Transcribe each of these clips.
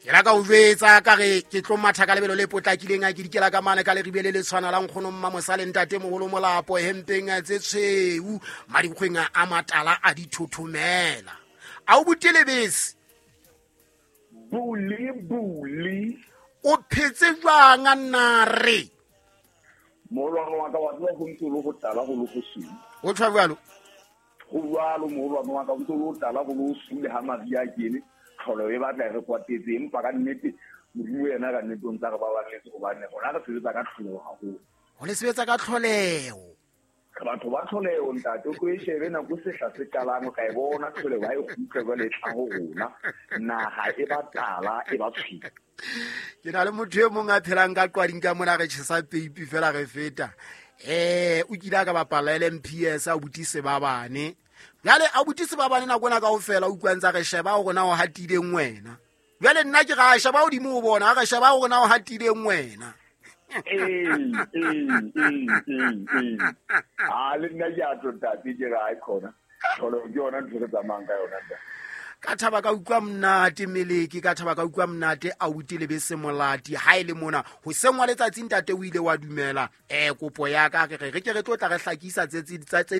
Ke la ka o jwetsa ka re ke tlo matha ka lebelo le potlakileng a ke dikela ka mane ka leribe le le tshwana la nkgono mma mosale ntate mogolo molapo hempeng tse tshweu madikgweng a matala a dithothomela a o bute lebese buli buli o phetse jwang a nna re Moholwane wa ka wa tseba go ntse o le go tala go le go sule. O tshwa jalo. Go jalo moholwane wa ka, o ntse o le go tala go le go sule ha maria a kene tlholo e batla e re kwatetse, empa ka nnete Modimo yena ka nnete o ntse a re baballetse gobane rona re sebetsa ka tlholeho haholo. Go le sebetsa ka tlholeho. Re batho ba tlholeho ntate, o tlo e shebe nako sehla se qalang o tla e bona tlholeho ha e kgutla jwale e tla ho rona, naha e ba tala e ba tshweu. Ke na le motho e mongwe a phelang ka qwading ka mona re tjhesa peipi fela re feta. O kile a ka bapala LMPS a buti Sebabane. Jwale a buti Sebabane nako ena kaofela o utlwa ntse a re sheba hore na o hatileng wena. Jwale nna ke ra sheba hodimo ho bona, a re sheba hore na o hatileng wena. Ee. Ha le nna ke a tlo ntate, ke re ha e khona. Tlholo ke yona ntho re tsamayang ka yona ntate. Ka thaba ka utlwa monate meleke, ka thaba ka utlwa monate a utlwe lebese molati. Ha e le mona hoseng wa letsatsi ntate o ile wa dumela kopo ya ka, re re re ke re tlo tla re hlakisa tse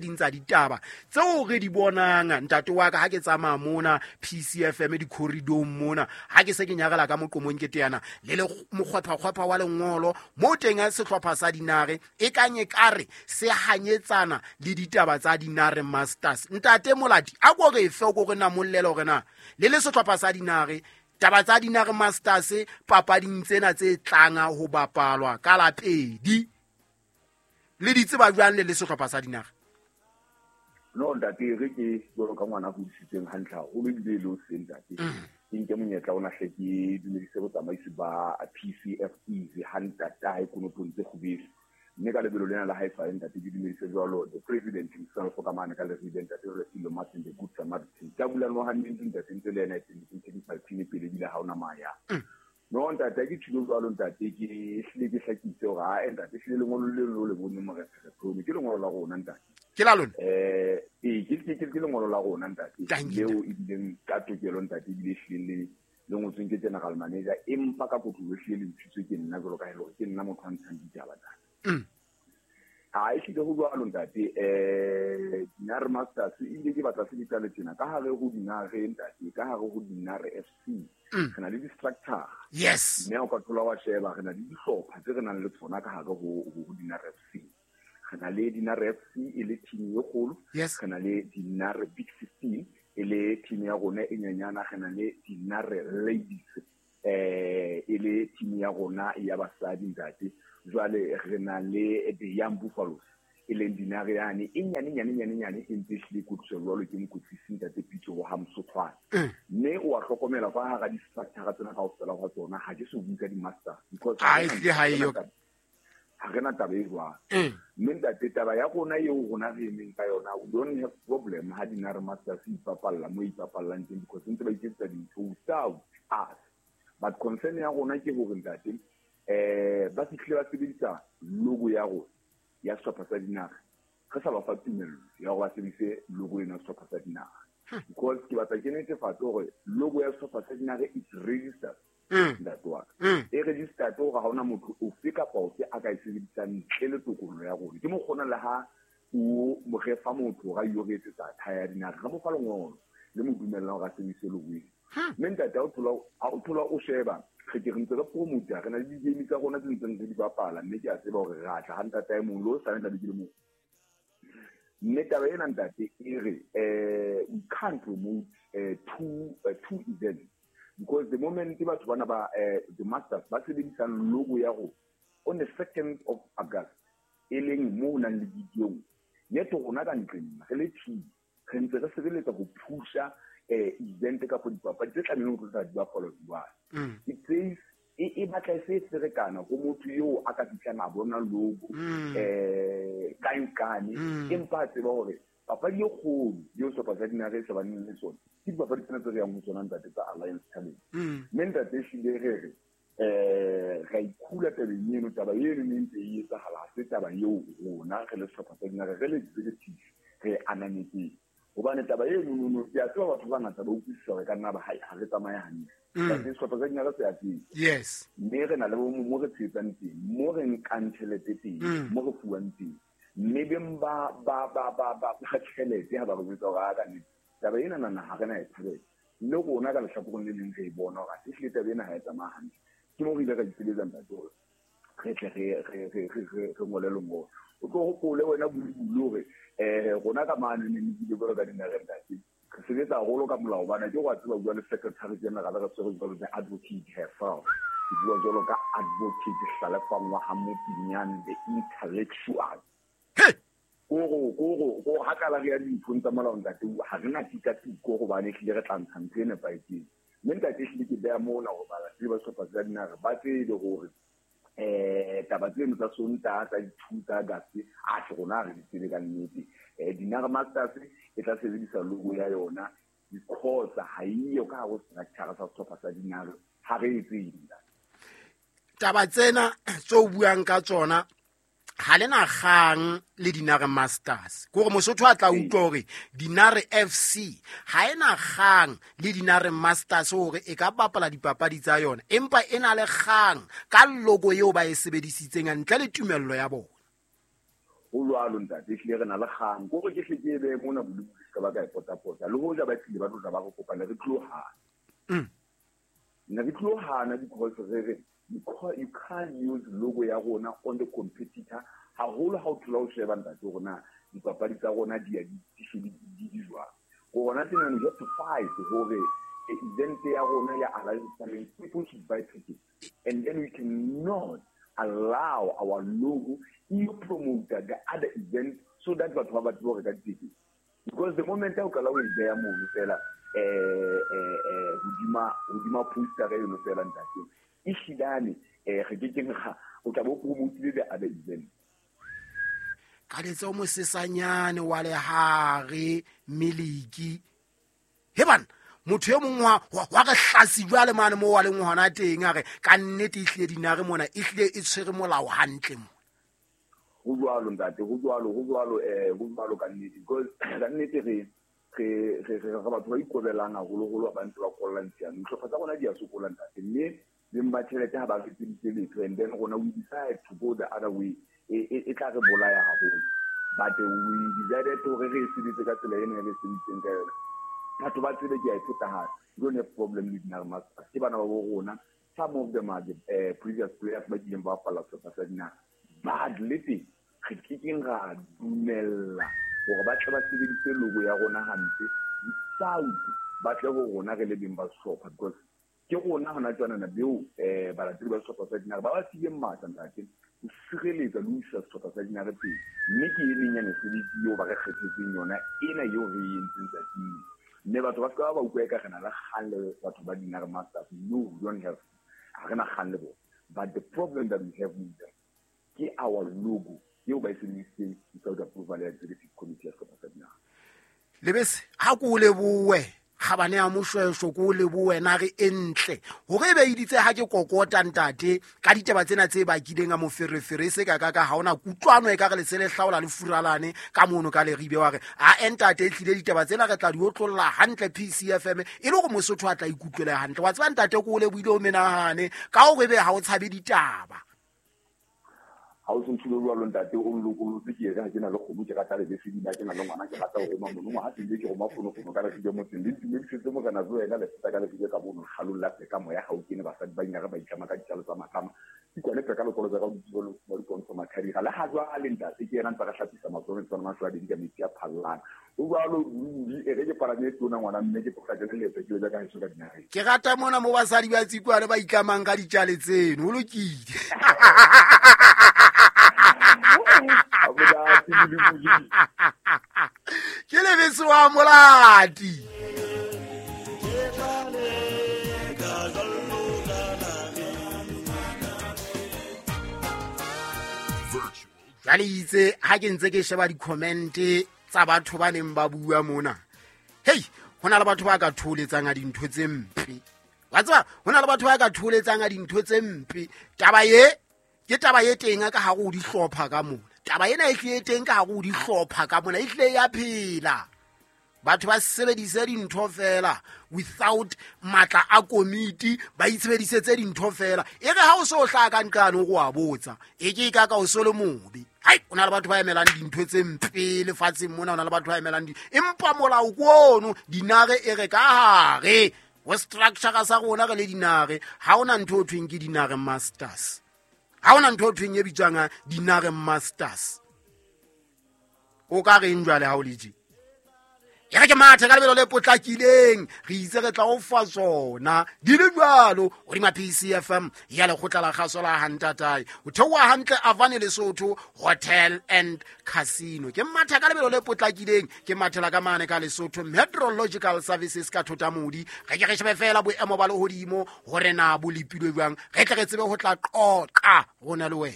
ding tsa ditaba tseo re di bonang ntate wa ka ha ke tsamaya mona PCFM di-corridor mona, ha ke se ke nyarela ka moqomong ke teana le le mokgwepha-kgwepha wa lengolo mo teng a sehlopha sa dinare e kang e ka re se hanyetsana le ditaba tsa dinare masters. Ntate Molati a ko re fe, o ko re namollela hore na le le sehlopha sa dinare taba tsa dinare masters papading tsena tse tlang ho bapalwa ka la pedi le di tseba jwang le le sehlopha sa dinare? No ntate, re ke jwalo ka ngwana a hodisitsweng hantle haholo ebile e le o seng ntate. Ke nke monyetla ona hle ke dumedise botsamaisi ba PCF Easy ha ntatae Konotong tse kgubedu. Mme ka lebelo lena la hae sale ntate ke dumedise jwalo the president himself ka mane ka leribe ntate Refilwe Martin the Good Samaritan. Ka bula no hantle ntate ntse le yena e teng ke ntse ke pele ebile ha ona maya. No ntate ke thulo jwalo ntate ke hlile ke hlakise hore ha ntate hlile lengolo le le le bone morephe ke lengolo la rona ntate. Ke la lona? Ke lengolo la rona ntate. Thank you. Leo e bileng ka tokelo ntate ebile hlile le ngotsweng ke general manager empa ka kotloloho hlile le ntshitswe ke nna jwalo ka ha e le hore ke nna motho a ntshang ditaba ntate. Ha e hlile ho jwalo ntate, Dinare Masters ebile ke batla se di qale tjena ka hare ho Dinare ntate, ka hare ho Dinare FC. Re na le di-structure. Mme o ka thola wa sheba re na le dihlopha tse re nang le tsona ka hare ho Dinare FC. Re na le Dinare FC e le team e kgolo. Re na le Dinare Big 16 e le team ya rona e nyenyana, re na le Dinare Ladies e le team ya rona ya basadi ntate. Jwale re na le the Young Buffaloes e leng Dinare yane e nyane nyane nyane nyane e ntse e hlile kwetliso jwalo ke mokwetlisi ntate Pitso wa ha Msothwane. Mme o a hlokomela fa hara di-structure tsena kaofela hwa tsona ha ke so bue ka di-masters because Ha e hlile ha eyo. ha re na taba e jwalo. Mme ntate taba ya rona eo rona re emeng ka yona, we don't have problem ha Dinare Masters e ipapalla mo e ipapallang teng because ntse ba iketsetsa dintho without us. But concern ya rona ke hore ntate ba fihlile ba sebedisa logo ya rona ya sehlopha sa Dinare, re sa ba fa tumello ya hore ba sebedise logo ena ya sehlopha sa Dinare. Because ke batla ke netefatse hore logo ya sehlopha sa Dinare is registered. Ntate wa ka. E registered hore ha hona motho ofe kapa ofe a ka e sebedisang ntle le tokollo ya rona. Ke mokgona le ha o mo re fa motho hore a yo re etsetsa thae ya Dinare, re mo fa lengolo le mo dumellang hore a sebedise logo ena. Mme ntate, ha o thola o sheba, re ke re ntse re promote, re na le di-game tsa rona tse ntseng re di bapala, mme ke a tseba hore re a tla ha ntate a e mong, le o sane tlabe ke le mong. Mme taba ena ntate e re, we can't promote two events because the moment batho bana ba the masters ba sebedisang logo ya rona on the 2nd of August e leng mo ho nang le video, yet rona ka ntleng re le team re ntse re sebeletsa ho pusha event kapa dipapadi tse tlamehileng ho tla di bapalwa jwale. It says e batla e se e ferekana ho motho eo a ka fihlang a bona logo, kae kae, empa a tseba hore papadi e kgolo eo sehlopha sa Dinare e shebaneng le sona ke dipapadi tsena tse re yang ho tsona ntate tsa Alliance Challenge. Mme ntate ehlile re re, ra ikhula tabeng eno, taba eno ne ntse e etsahala, ha se taba eo rona re le sehlopha sa Dinare re le executive re ananetseng. Hobane taba eno ke a tseba batho ba bangata ba utlwisisa hore ka nna ba ha re tsamaye hantle. But sehlopha sa dinare se a tseba. Yes. Mme re na le mo re tshehetsang teng, mo re nkang tjhelete teng, mo re fuwang teng. Mme beng ba tjhelete ha ba re jwetsa hore a ka nnete taba ena nana ha re na e thabela. Le rona ka lehlakoreng le leng re e bona hore athe ehlile taba ena ha e tsamaya hantle. Ke mo re ile ra ipiletsa ntate hore re tle re ngole lengolo. O tlo hopole wena Bulubulu hore rona ka mane ne ne jwalo ka dinare ntate. Re sebetsa haholo ka molao bana ke wa tseba bua le secretary general re tshwere jwalo le advocate herself. Ke bua jwalo ka advocate Hlalefang wa ha Mopinyane, the intellectual. Koro ha kala re ya dinthong tsa molao ntate, ha re na tikatiko hobane ehlile re tla ntsha ntho e nepahetseng. Mme ntate ehlile ke beha mona hore balatedi ba sehlopha sa dinare ba tsebe hore taba tseno tsa Sontaha tsa di-2 tsa August a se rona re di tsebe ka nnete. Dinare Masters e tla sebedisa logo ya yona because ha eyo ka hare ho structure sa sehlopha sa dinare, ha re e tsebe. Taba tsena tse o buang ka tsona ha le na kgang le Dinare Masters. Ke hore Mosotho a tla utlwa hore Dinare FC ha e na kgang le Dinare Masters hore e ka bapala dipapadi tsa yona, empa e na le kgang ka logo eo ba e sebedisitseng ntle le tumello ya bona. Ho jwalo ntate, ehlile re na le kgang. Ke hore ke hle ke e behe mona Bolubulu se ka ba ka e potapota. Le hoja ba tlile ba tlo tla ba re kopa, ne re tlo hana. Ne re tlo hana because re re you can't use logo ya rona on the competitor. Haholo ha o thola o sheba ntate hore na dipapadi tsa rona di ya di jwang. Rona tena we have to fight hore event ya rona ya Alliance Challenge, people should buy tickets. And then we cannot allow our logo e promote the other event so that batho ba batle ho reka tickets. Because the moment o qala o e beha mono fela hodima poster eno fela ntate, ehlilane re ke keng ga o tla bo promotile the other event. Ka letsa o mosesanyane wa lehare miliki. He bana, motho e mong wa re hlasi jwale mane mo wa leng hona teng a re ka nnete ehlile Dinare mona ehlile e tshwere molao hantle mo. Ho jwalo ntate, ho jwalo, ho jwalo, ho jwalo ka nnete. Because ka nnete re batho ba ikobelang haholoholo ba ntse ba kollang tshiamo. Dihlopha tsa rona di a sokola ntate, mme beng ba tjhelete ha ba re etseditse letho, and then rona we decide to go the other way. E tla re bolaya haholo. But we decided hore re e sebetse ka tsela ena e re sebeditseng ka yona. Batho ba tsebe ke a e pheta hape. We don't have problem with Dinare Masters. Ke bana ba bo rona. Some of them are the previous players ba kileng ba bapala sehlopha sa Dinare. But le teng re kekeng ra dumella hore ba tle ba sebedise logo ya rona hampe without ba tle ho rona re le beng ba sehlopha, because ke rona hona jwanana beo balatedi ba sehlopha sa Dinare ba ba fileng matla ntate ho sireletsa le ho isa sehlopha sa Dinare pele. Mme ke e meng ya mesebetsi eo ba re kgethetseng yona ena eo re e entseng tsatsing. Mme batho ba ska ba utlwa eka re na le kgang le batho ba Dinare Masters. No, we don't have, ha re na kgang le bona. But the problem that we have with them ke our logo eo ba e sebedisitseng without approval ya executive committee ya sehlopha sa Dinare. Lebese, ha ko lebohe kgabane ya moshweshwe, ko lebohe nare e ntle hore e be iditse ha ke kokota ntate ka ditaba tsena tse bakileng a moferefere se ka ka ka ha ona kutlwano e ka re lese le hlaola le furalane ka mono ka leribe wa re a ntate e tlile ditaba tsena re tla di otlolla hantle PCFM e le hore Mosotho a tla ikutlwela hantle. Wa tseba ntate ko lebohile o menahane ka hore ebe ha o tshabe ditaba. Ha o se ntshilo jwalo ntate, o nlokolotse ke re ha ke na le kgomo, ke rata lebese ebile ha ke na le ngwana, ke rata ho roma mono. Ngwaha teng ke roma fonofono ka lefike motseng. Le ntumedisetse morena tso wena le feta ka lefike ka mono, kgalong la peka moya ha o kene, basadi ba inare ba itlama ka ditjalo tsa matlama. Ke kwane peka lekolo tsa ka hodimo le ba dipontsho mathadira. Le ha jwale ntate ke yena ntse re hlapisa matsoho tsona mahlo a ding ka metsi a phallang. O jwalo ruri, e re ke palame e tona ngwana mme ke potlakele leeto ke yo ja ka heso ka dinareng. Ke rata mona mo basadi ba Tsikwane ba itlamang ka ditjale tseno, ho lokile. Ke lebese wa Molati. Jwale itse ha ke ntse ke sheba di-comment tsa batho ba neng ba bua mona, hei, ho na le batho ba ka thoholetsang a dintho tse mpe. Wa tseba, ho na le batho ba ka thoholetsang a dintho tse mpe. Taba e ke taba e teng ka hare ho dihlopha ka mona. Taba ena e hlile teng ka hare ho dihlopha ka mona, e hlile ya phela. Batho ba sebedise dintho fela without matla a komiti, ba itshebedisetse dintho fela. E re ha o so hlaha ka nqane o a botsa, e ke ka ka o so le mobe. Hai, o na le batho ba emelang dintho tse mpe lefatsheng mona, o na le batho ba emelang empa molao ke ono, dinare e re ka hare ho structure sa rona re le dinare, ha ona ntho o thweng ke dinare masters. Ha ona ntho o thweng e bitswang dinare masters. O ka reng jwale ha o le tje? E re ke mathe ka lebelo le potlakileng, re itse re tla o fa tsona di le jwalo hodima PCFM ya lekgotla la kgaso la Hantatae. O theoha hantle Avane Lesotho Hotel and Casino. Ke mathe ka lebelo le potlakileng, ke mathela ka mane ka Lesotho Meteorological Services ka Thotamodi. Re ke re shebe fela boemo ba lehodimo hore na bo lepilwe jwang, re tle re tsebe ho tla qoqa rona le wena.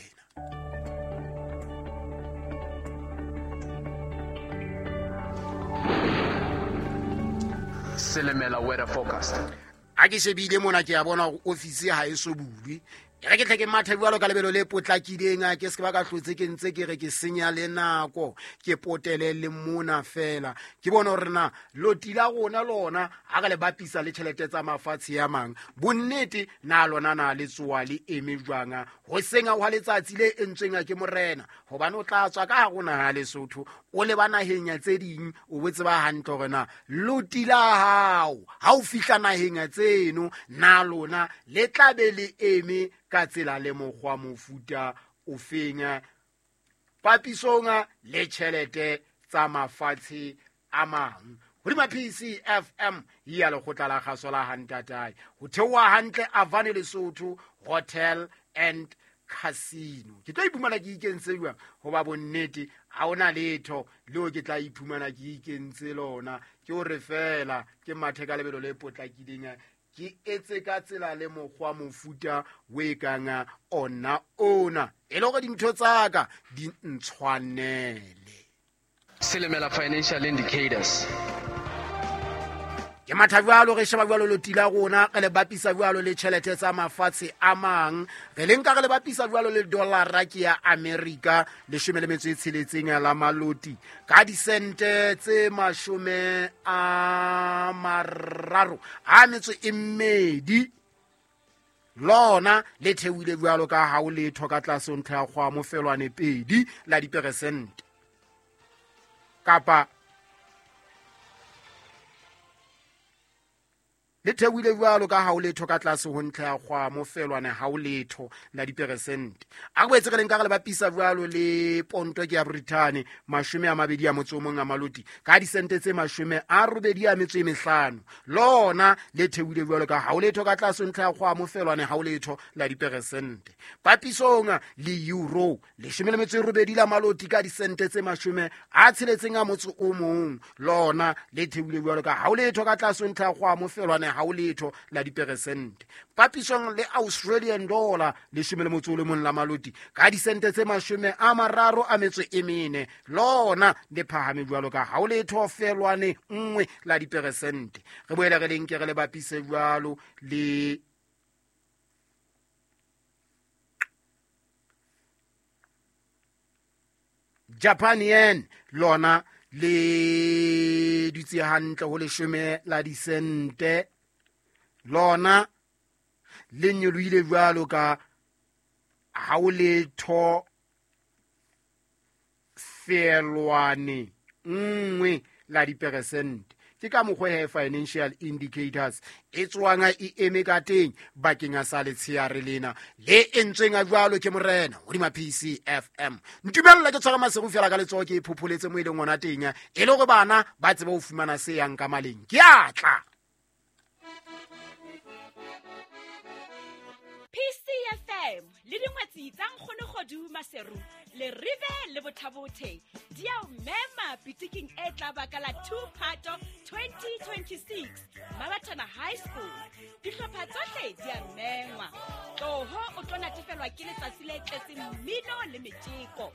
Selemela weather forecast. A ke shebile mona ke a bona hore office ha e so bulwe. E re ke tle ke mathe jwalo ka lebelo le potlakileng, a ke se ke ba ka hlotse ke ntse ke re ke senya le nako, ke potele le mona fela. Ke bone hore na loti la rona lona ha re le bapisa le tjhelete tsa mafatshe a mang, bonnete na lona na le tsoa le eme jwang ho senga hwa letsatsi le entsweng ke morena, hobane o tla tswa ka hare ho naha Lesotho o leba naheng ya tse ding, o bo tseba hantle hore na loti la hao ha o fihla naheng ya tseno na lona le tla be le eme ka tsela le mokgwa mofuta o feng papisong le tjhelete tsa mafatshe a mang. Hodima PCFM ya lekgotla la kgaso la Hantatae, ho theoha hantle Avane Lesotho Hotel and Casino. Ke tlo iphumana ke ikentse jwang hoba bonnete ha ona letho leo ke tla iphumana ke ikentse lona, ke hore fela ke mathe ka lebelo le potlakileng, ke etse ka tsela le mokgwa mofuta o e kang ona ona, e le hore dintho tsa ka di ntshwanele. Selemela financial indicators. Ke matha jwalo, re sheba jwalo loti la rona, re le bapisa jwalo le tjhelete tsa mafatshe a mang, re le nka re le bapisa jwalo le dollara ke ya America 16 la maloti ka disente tse 32 lona le theohile jwalo ka ha o letho ka tlase ho ntlha ya kgwa mofelwane 2 la diperesente kapa le theohile jwalo ka ha o letho ka tlase ho ntlha ya kgwa mofelwane ha o letho la diperesente. A re boetse re le nka re le bapisa jwalo le ponto ke ya Britain 21 a maloti ka disente tse 85 lona le theohile jwalo ka ha o letho ka tlase ho ntlha ya kgwa mofelwane ha o letho la diperesente. Papisong le euro 18 la maloti ka disente tse 61 lona le theohile jwalo ka ha o letho ka tlase ho ntlha ya kgwa mofelwane ha o letho la diperesente. Papisong le Australian dollar 11 la maloti ka disente tse 34 lona le phahame jwalo ka ha o letho felwane 1 la diperesente. Re boele re lenke re le bapise jwalo le Japan yen lona le dutse hantle ho 10 la disente, lona le nyolohile jwalo ka ha o letho felwane 1 la diperesente. Ke ka mokgwa he financial indicators e tswang e eme ka teng bakeng sa letsheare lena le entsweng a jwalo ke morena hodima PCFM. Ntumella ke tshwara maseru fela ka letsoho ke phopholetse mo e leng ona teng, e le hore bana ba tsebe ho fumana se yang ka maleng. Ke a tla. PCFM le dingwetsi tsa Nkgono Kgodu Maseru le Rive le Bothabothe di a o mema pitiking e tla ba ka la 2 Phato 2026 Mabatana High School. Dihlopha tsohle di a mengwa. Tloho o tlo natefelwa ke letsatsi le tletseng mmino le metjeko.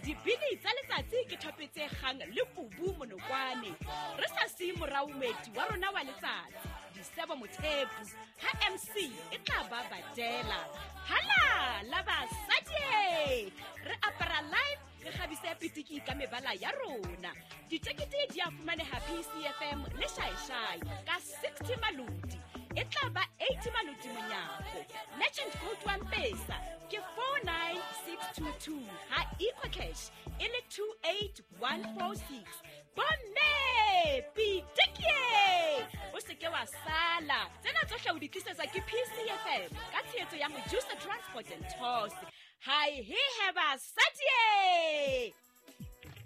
Dibini tsa letsatsi ke thope tse kgang le kubu monokwane. Re sa siye morao moeti wa rona wa letsatsi, Disebo Mothepu, ha MC e tla ba badela. Hala la basadi! Re apara live, re kgabise Pitiki ka mebala ya rona. Ditekete di a fumaneha PCFM le Shaeshai ka 60 maloti. E tla ba 80 maloti monyako. Merchant code wa Mpesa ke 49622, ha EcoCash e le 28146. Bomme, Pitikie, o se ke wa sala. Tsena tsohle o di tlisetswa ke PCFM ka tshehetso ya Mojusa Transport and Tours. Hai he he basadie.